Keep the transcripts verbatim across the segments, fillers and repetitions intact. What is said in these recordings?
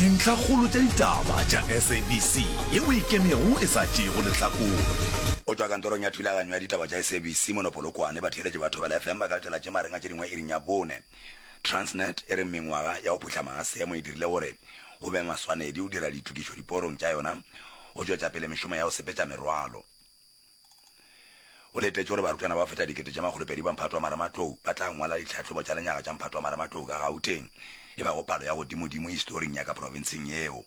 Dintlhakgolo tša ditaba tša S A B C yeo e ikemego e sa tšeego lehlakore. Go tšwa kantorong ya thulaganyo ya ditaba tša S A B C mono Polokwane, batheeletši ba Thobela F M ba ka letela tše magareng a tše dingwe iring ya bone. Transnet e re mengwaga ya go phuhlama ga seemo e dirile gore go be maswanedi go dira ditokišo diporong tša yona go tšwetša pele mešomo ya go sepetša merwalo. Go letetšwe gore barutwana ba go feta dikete tše makgolopedi ba mphato wa marematlou ba tla ngwala ditlhahlobo tša lenyaga tša mphato wa marematlou ka Gauteng, e bago palo ya godimodimo historing ya ka profenseng yeo.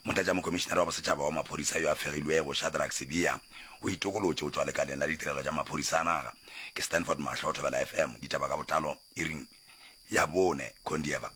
Motlatšamokhomišenare wa Bosetšhaba wa Maphodisa yo a fegilwego, Shadrack Sibiya, o itokolotše go tšwa lekaleng la ditirelo tša maphodisa a naga. Ke Stanford Mahlo, Thobela F M, ditaba ka botlalo iring ya bone, Kondieva.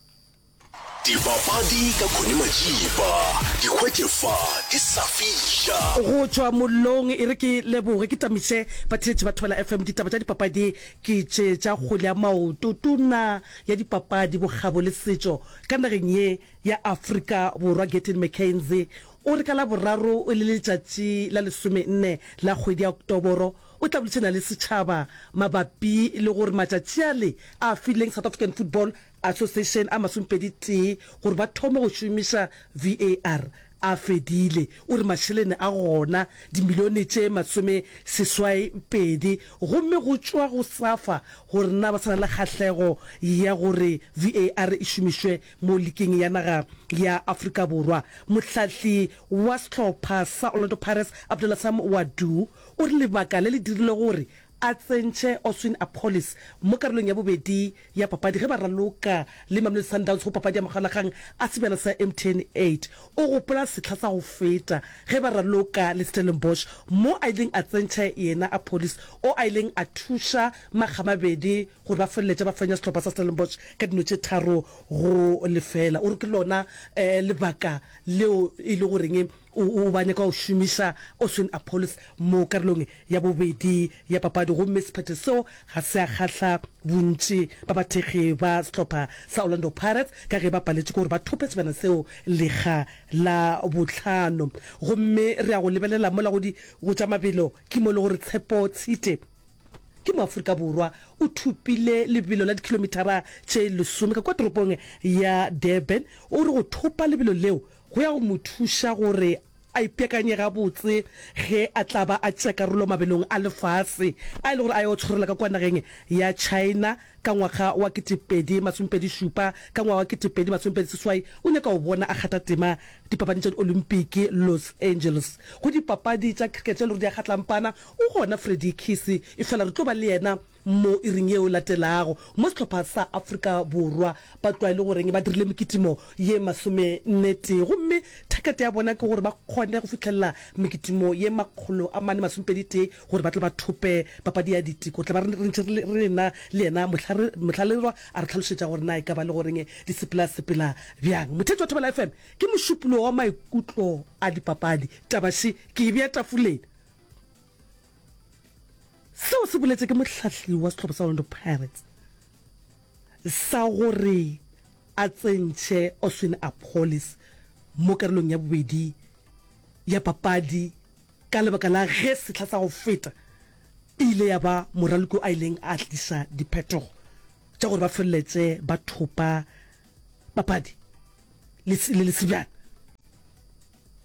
Dipapadi ka Connie Majiba, di hwetše fa di sa fiša. Go tšwa mollong, e re ke leboge ke tamiše batheeletši ba Thobela F M. Ditaba tša dipapadi ke tše tša kgwele ya maoto. Tona ya Dipapadi, Bokgabo le Setšo ka nageng ye ya Afrika Borwa Gayton McKenzie o re ka Laboraro e le letšatši la lesomenne la kgwedi ya Oktoboro o tla boledišana le setšhaba mabapi le gore matšatši ale a fileng South African Football Association a masomepedi tee gore ba thome go šomiša V A R a fedile. O re mašelene a gona, dimilione tše masome seswai pedi, gomme go tšwa go SAFA gore na ba sa na le kgahlego ya gore V A R e šomišwe mo liking ya naga ya Afrika Borwa. Mohlahli wa sehlopha sa Orlando Pirates Abdallah Sam Ouaddou o re lebaka le le dirile gore a tsentšhe Oswin Appollis mo karolong ya bobedi ya papadi ge ba raloka le Mamelodi Sundowns go papadi ya makgaolakgang a sebjana sa M T N eight. O gopola sehla sa go feta ge ba raloka le Stellenbosch mo a ileng a tsentšha yena Appollis o a ileng a thuša makgamabedi gore ba feleletše ba fenya sehlopha sa Stellenbosch ka dino tše tharo go lefela. O re ke lona lebaka leo e le goreng o ba nyaka go šomiša Oswin Appollis mo karolong ya bobedi ya papadi, gomme sephetho seo ga se a kgahla bontši ba bathekgi ba sehlopha sa Orlando Pirates ka ge ba paletšwe ke gore ba thope sebjana seo lekga la bohlano. Gomme re ya go lebelela mola go di go tša mabelo ke mo e le gore Tshepo Tshite ke Moafrika Borwa o thopile lebelo la dikhilomithara tše lesome ka kua toropong ya Durban. O re go thopa lebelo leo go ya go mo thuša gore a ipeakanye gabotse ge a tla ba a tšea karolo mabelong a lefase a e le gore a yo tshwarela ka kua nageng ya China ka ngwaga wa ketepedi masomepedi šupa. Ka ngwaga wa ketepedi masomepedi seswai o nyaka go bona a kgatha tema dipapading tša Diolimpiki Los Angeles. Go dipapadi tša cricket tše e le gore di a kgatlampana o gona Freddie Kissi, efela re tlo ba le yena mo iring yeo latelago. Mo sehlopha sa Afrika Borwa ba tloa e le goreng ba dirile mekitimo ye masomenne tee, gomme thakete ya bona ke gore ba kgone go fihlelela mekitimo ye makgolo a mane masomepedi tee gore ba tle ba thope papadi ya diteko. Tla ba re ntše re na le yena mohlalelwa a re hlalošetša gore na e ka ba le goreng di sepela sepela bjang. Motheetši wa Thobela F M, ke mošupologo wa maikutlo a dipapadi. Taba še ke e bea tafoleng. Seo se boletše ke mohlahli wa sehlopha sa Orlando Pirates sa gore a tsentšhe Oswin Appollis mo karolong ya bobedi ya papadi ka lebaka la ge sehla sa go feta e ile ya ba moraloki a ileng a tliša diphetogo tša gore ba feleletše ba thopa papadi le le sebjana.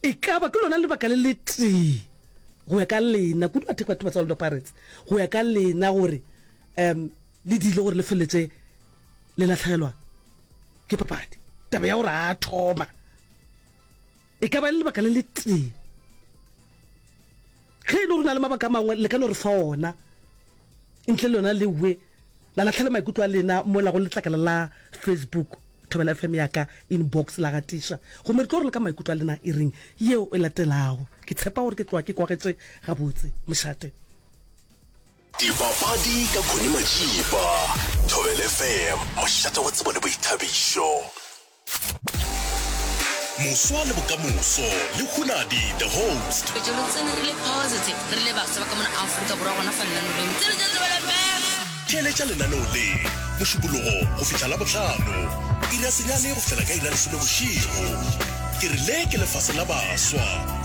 E ka ba ke lona lebaka le letee go ya ka lena, kudu batho batho ba tsa Orlando Pirates, go ya ka lena gore um le dile gore le feleletše le lahlegelwa ke papadi. Taba ya gore a thoma e ka ba le lebaka le letee. Ge e le gore na le mabaka a mangwe le ka no re fa ona ntle le yona lewe la lahlela maikutlo a lena mola go letlakala la Facebook Thobela F M ya ka inbox la gatiša, gomme re tlo re le ka maikutlo a lena iring yeo e latelago. Ke tshepa gore ke tloga ke kwagetše gabotse. Mošate. Dipapadi ka Connie Majiba, Thobela F M, mošate wa tsebo le boithabišo. Moswa le bokamoso le Hunadi the host. Re tsene re le positive re le baswa ba ka mona Afrika Borwa gona fa lenaneong tseno tša Thobela F M. Theeletša lenaneo le Mošupologo go fihla Labohlano iri ya senyane go fihlela ka iri ya lesome bošego. Ke re le ke lefase la baswa.